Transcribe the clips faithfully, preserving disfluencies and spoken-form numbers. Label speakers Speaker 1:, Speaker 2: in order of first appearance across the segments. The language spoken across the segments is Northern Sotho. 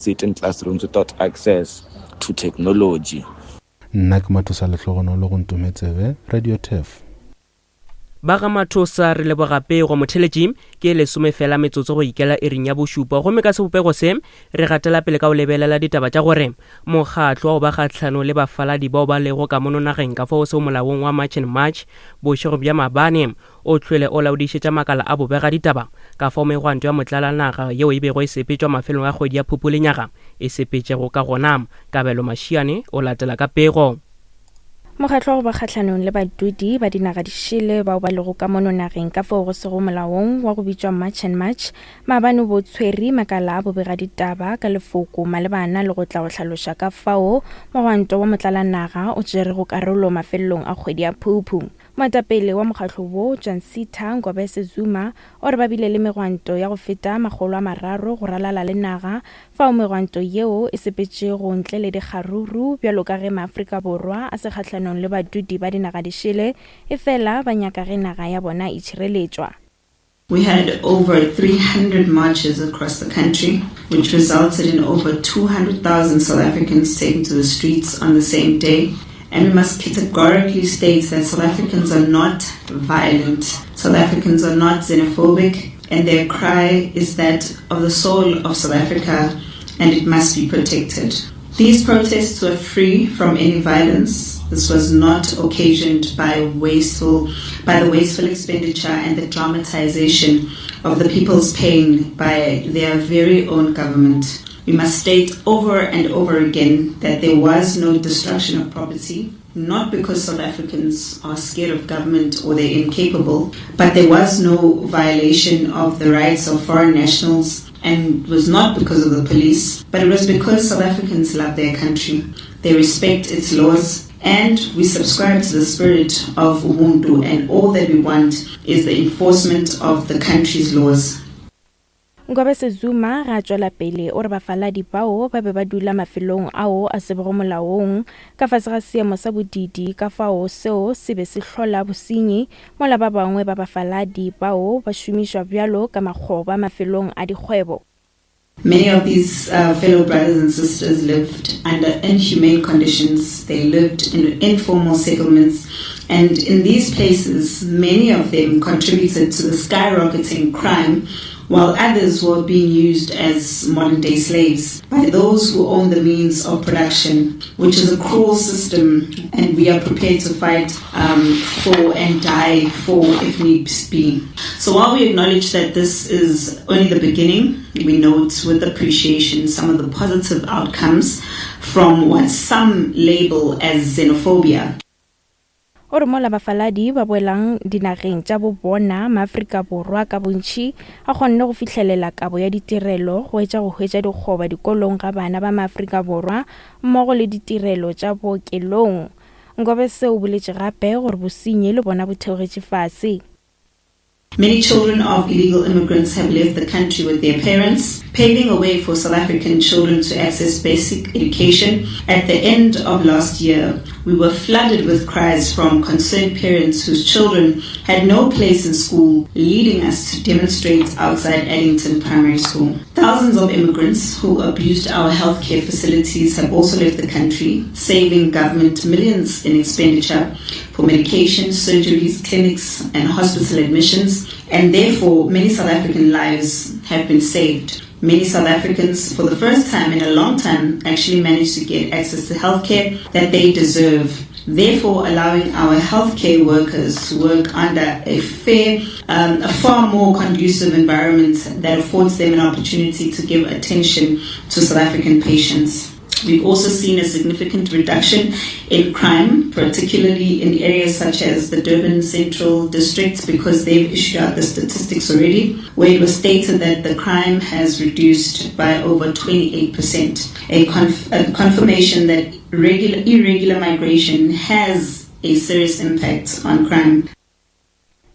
Speaker 1: Sit in classrooms without access to technology.
Speaker 2: Nna ke Mathosa Lehlogonolo go Ntometsebe, Radio Turf.
Speaker 3: Ba ga Mathosa re leboga pego. Motheletši ke lesome fela metsotso go ikela iring ya bošupa, gomme ka sebopego se re gatela pele ka go lebelela ditaba tša gore mokgatlo wa go ba kgahlano le bafaladi bao ba lego ka mono nageng ka fao seo molaong wa March and March bošego bja mabane o hlwele o laodišetša makala a bobega ditaba ka fao megwanto ya motlalanaga yeo e bego e sepetšwa mafelong a kgwedi ya Phupu lenyaga e sepetšego ka gona. Kabelo Mašiane o latela ka pego.
Speaker 4: Mokgatlo wa go ba kgahlanong le badudi ba dinaga dišele bao ba lego ka mono nageng ka fao go sego molaong wa go bitšwa March and March maabane bo tshwere makala a bobega ditaba ka lefoko malebana le go tla go hlaloša ka fao mogwanto wa motlalanaga o tšerego karolo mafelelong a kgwedi ya Phuphu. Moetapele wa mokgatlo wo Jansita Ngobese Zuma o re ba bile le megwanto ya go feta makgolo a mararo go ralala le naga fao megwanto yeo e sepetšego ntle le dikgaruru bjalo ka ge maAfrika Borwa a se kgahlanong le badudi ba dinaga dišele efela ba nyaka ge naga ya bona e tšhireletšwa.
Speaker 5: We had over three hundred marches across the country, which resulted in over two hundred thousand South Africans taken to the streets on the same day. And we must categorically state that South Africans are not violent. South Africans are not xenophobic, and their cry is that of the soul of South Africa, and it must be protected. These protests were free from any violence. This was not occasioned by wasteful, by the wasteful expenditure and the dramatization of the people's pain by their very own government. We must state over and over again that there was no destruction of property, not because South Africans are scared of government or they're incapable, but there was no violation of the rights of foreign nationals, and was not because of the police, but it was because South Africans love their country. They respect its laws, and we subscribe to the spirit of Ubuntu, and all that we want is the enforcement of the country's laws.
Speaker 4: Ngobese Zuma ga tšwela pele o re bafaladi bao ba be ba dula mafelong ao a sebego molaong ka fase ga seemo sa bodidi ka fao seo se be se hlola bosenyi mola ba bangwe ba bafaladi bao ba šomišwa bjalo ka makgoba mafelong a dikgwebo.
Speaker 5: Many of these uh, fellow brothers and sisters lived under inhumane conditions. They lived in informal settlements, and in these places, many of them contributed to the skyrocketing crime, while others were being used as modern-day slaves by those who own the means of production, which is a cruel system, and we are prepared to fight um, for and die for if need be. So while we acknowledge that this is only the beginning, we note with appreciation some of the positive outcomes from what some label as xenophobia.
Speaker 4: O re mola bafaladi ba boelang dinageng tša bo bona maAfrika Borwa ka bontši a kgonne go fihlelela kabo ya ditirelo go etša go hwetša dikgoba dikolong ga bana ba maAfrika Borwa mmogo le ditirelo tša bookelong. Ngobese o boletše gape gore bosenyi le bona bo theogetše fase.
Speaker 5: Many children of illegal immigrants have left the country with their parents, paving a way for South African children to access basic education. At the end of last year, we were flooded with cries from concerned parents whose children had no place in school, leading us to demonstrate outside Addington Primary School. Thousands of immigrants who abused our healthcare facilities have also left the country, saving government millions in expenditure for medication, surgeries, clinics, and hospital admissions. And therefore, many South African lives have been saved. Many South Africans, for the first time in a long time, actually managed to get access to healthcare that they deserve, therefore allowing our healthcare workers to work under a fair, um, a far more conducive environment that affords them an opportunity to give attention to South African patients. We've also seen a significant reduction in crime, particularly in areas such as the Durban Central District, because they've issued out the statistics already, where it was stated that the crime has reduced by over twenty-eight percent, a, conf- a confirmation that regular, irregular migration has a serious impact on crime.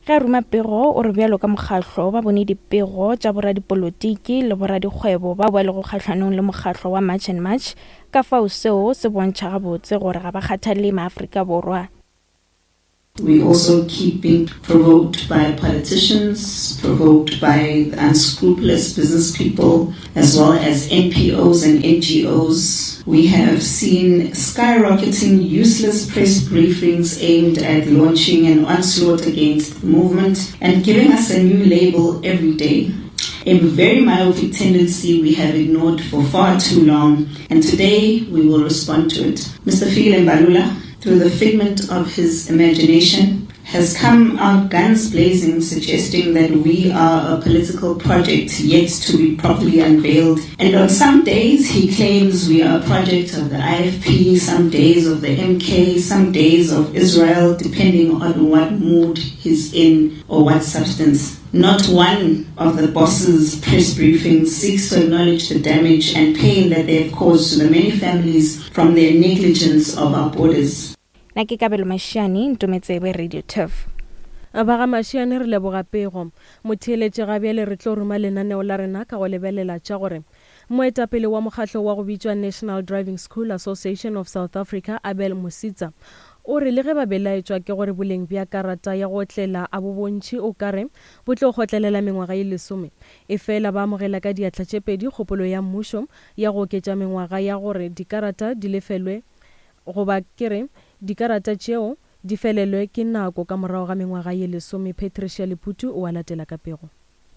Speaker 4: Ge a ruma pego o re bjalo ka mokgahlo ba bone dipego tša boradipolotiki le boradikgwebo bao ba lego kgahlanong le mokgahlo wa March and March ka fao seo se bontšha gabotse gore ga ba kgathale maAfrika Borwa.
Speaker 5: We also keep being provoked by politicians, provoked by unscrupulous business people, as well as N P Os and N G Os. We have seen skyrocketing useless press briefings aimed at launching an onslaught against the movement and giving us a new label every day. A very myopic tendency we have ignored for far too long, and today we will respond to it. Mister Fikile Mbalula, through the figment of his imagination, has come out guns blazing, suggesting that we are a political project yet to be properly unveiled. And on some days he claims we are a project of the I F P, some days of the M K, some days of Israel, depending on what mood he's in or what substance. Not one of the boss's press briefings seeks to acknowledge the damage and pain that they have caused to the many families from their negligence of our borders.
Speaker 4: Na ke Kabelo Mashiane, Ntometsebe, Radio Turf.
Speaker 6: Ba ga Mashiane re leboga pego. Motheeletše ga bjale re tlo ruma lenaneo la rena ka go lebelela tša gore moetapele wa mokgatlo wa go bitšwa National Driving School Association of South Africa, Abel Mositsa, o re le ge ba belaetšwa ke gore boleng bja karata ya go otlela a bo bontši o ka re bo tlo kgotlelela mengwaga ye lesome, e fela ba amogela ka diatla tše pedi kgopolo ya mmušo ya go oketša mengwaga ya gore dikarata di lefelwe goba ke re dikarata tšeo di felelwe ke nako ka morago ga mengwaga ye lesome. Patricia Leputu o a latela ka pego.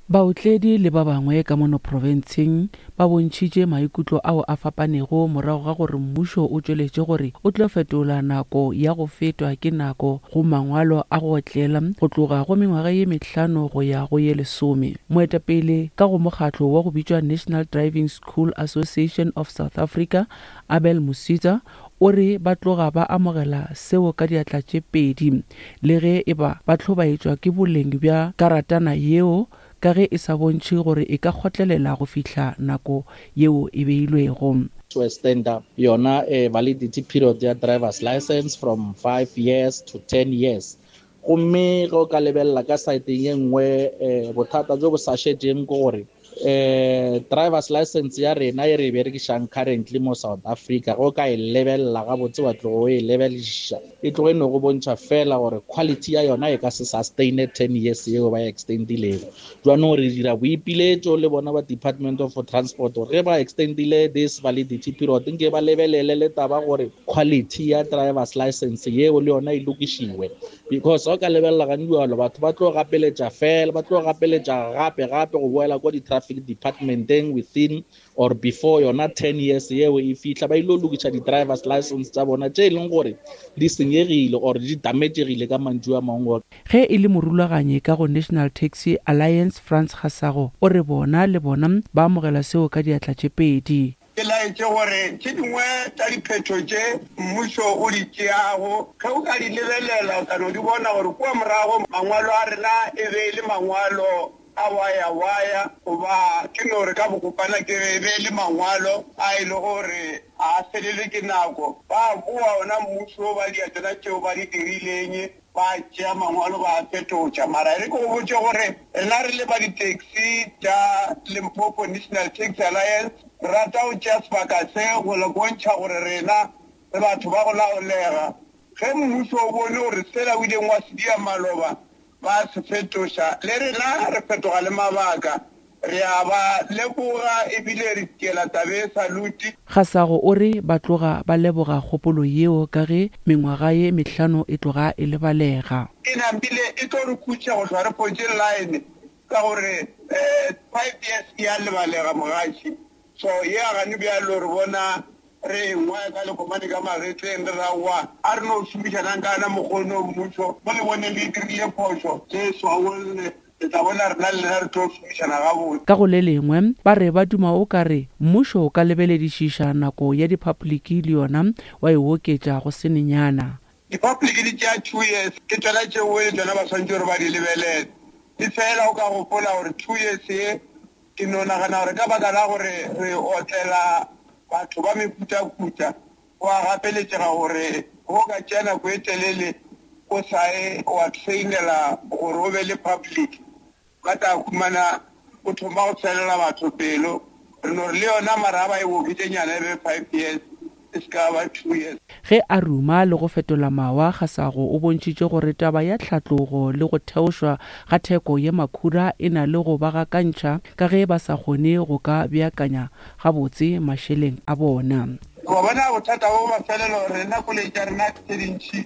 Speaker 7: Baotledi le ba bangwe ka mono profenseng ba bontšhitše maikutlo ao a fapanego morago ga gore mmušo o tšweletše gore o tlo fetola nako ya go fetwa ke nako go mangwalo a go otlela go tloga go mengwaga ye mehlano go ya go ye lesome. Moetapele ka go mokgatlo wa go bitšwa National Driving School Association of South Africa, Abel Mositsa, o re ba tloga ba amogela seo ka diatla tše pedi le ge e ba ba hlobaetšwa ke boleng bja karatana yeo ka ge e sa bontšhe gore e ka kgotlelela go fihla nako yeo e beilwego.
Speaker 8: To extend yona eh, validity period ya driver's license from five years to ten years. Gomme ge o ka lebelela ka saeteng ye nngwe eh, bothata jo bo sa šetšeng ke gore eh driver's license ya rena e re e berekišang currently mo South Africa, go ka e lebelela gabotse wa tlogo e lebeliša, e tloge no go bontšha fela gore quality ya yona e ka se sustain ten years yeo ba e extendilego. Jwanong re dira boipiletšo le bona ba Department of Transport gore ge ba extendile this validity period nke ba lebelele le taba gore quality ya driver's license yeo le yona e lokišiwe, because o ka lebelela gane jalo batho ba tlo gapeletša fela, ba tlo gapeletša gape gape go boela kwa di-traffic departmenteng within or before yona ten years yeo e fihla, ba ile lokiša di-driver's license tša bona tše e leng gore di senyegile or di damagegile ka mantšu a mangwe.
Speaker 7: Ge e le morulaganyi ka go National Taxi Alliance, Frans Gasago, o re bona le bona ba amogela seo ka diatla tše pedi.
Speaker 9: Ke laetše gore tše dingwe tša diphetho tše mmušo o di tšeago ge o ka di lebelela o tla no di bona gore kua morago mangwalo a rena e be e le mangwalo a waya-waya, goba ke no re ka bokopana ke e be e le mangwalo a e le gore a felelwe ke nako. Ba boa ona mmušo ba dia tsona tšeo ba di dirileng, ba tšea mangwalo ba a fetotša. Mara e re ke go botše gore rena re le ba di-taxi tša Limpopo National Taxi Alliance re rata go tšea sebaka se go le bontšha gore rena re batho ba go laolega. Ge mmušo o bone gore sela o ileng wa se dia maloba ba se fetoša, le rena re fetoga le mabaka, re a ba leboga ebile re tiela tabe salute.
Speaker 7: Gasago o re ba tloga ba leboga kgopolo yeo ka ge mengwaga ye mehlano e tloga e lebalega.
Speaker 9: E nambile e tlo re khutša go hlwa re fotše line ka gore eh, five years e a lebalega mogaši. So ye a gane bjalo re bona re engwe ka lekomane ka magetleng re raowa a re no šomišanang ka yona mokgono mmušo mo le bone le dirile phošo le swaolle le tla bona rena le lena re tlo šomišana gabotse.
Speaker 7: Ka go le lengwe ba re ba duma o ka re mmušo o ka lebeledišiša nako ya dipapoliki le yona wa e oketša go senenyana.
Speaker 9: Dipapoliki di tšea two years, ke tšona tšeo le tšona ba swanetše gore ba di lebelele. E fela o ka gopola gore two years ye ke no nagana gore ka baka la gore re otlela batho ba mefutafuta, go a gapeletšega gore go ka tšea nako e telele o sa ye wa trainela gore o be le public, ba tla khumana o thoma go felela batho pelo. Re no re le yona mara ba e okeditše nyana e be five years, e se ka ba two years.
Speaker 7: Ge a ruma le go fetola mawa, Kgasago o bontšhitše gore taba ya tlhatlogo le go theošwa ga theko ya makhura e na le go ba gakantšha ka ge ba sa kgone go ka beakanya gabotse mašeleng a bona.
Speaker 9: Wa bona bothata bo mafelelo, rena koloi tša rena tše dintši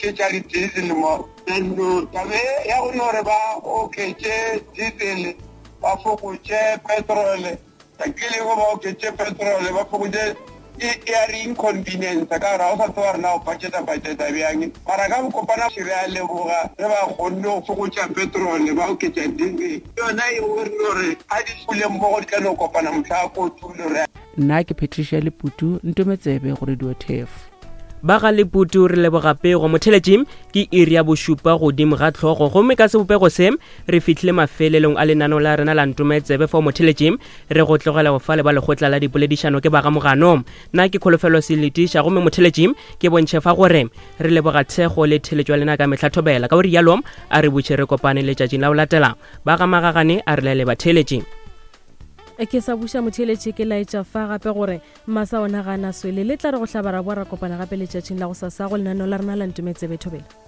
Speaker 9: ke tša di-diesel mo. Taba e ya go no re ba oketše diesel, ba fokotše petrol, ke lego ba oketše petrol, ba fokotše e ya re inconvenience ka gore ga o sa tseba rena go budgeta budgeta bjang. Mara ka bokopana re a leboga ge ba kgonne go fokotša petrol, ba oketša diesel. Yona e re gore a di fule mmogo di tla no kopana mohla kotulo re.
Speaker 7: Nna ke Patricia Leputu, Ntometsebe go Radio Turf.
Speaker 3: Ba ga Leputu re leboga pego. Motheletši ke iri ya bošupa godimo ga tlhogo, gomme ka sebopego se re fihlile mafelelong a lenaneo la rena la Ntometsebe. Fao motheletši re go tlogela go fa le ba lekgotla la dipoledišano ke ba ga Mogano. Nna ke Kholofelo Seletiša, gomme motheletši ke bontšhe fa gore re leboga thekgo le theletšo ya lena ka mehla thobela. Ka go rialo a re butše re kopane letšatšing la go latela. Ba ga Magagane a re laele batheletši.
Speaker 6: Ke sa buša motheletši ke laetša fa gape gore masa ona ga a na swele. Le tla re go hlaba ra boa ra kopana gape letšatšing la go sasa go lenaneo la rena la Ntometsebe. Thobela.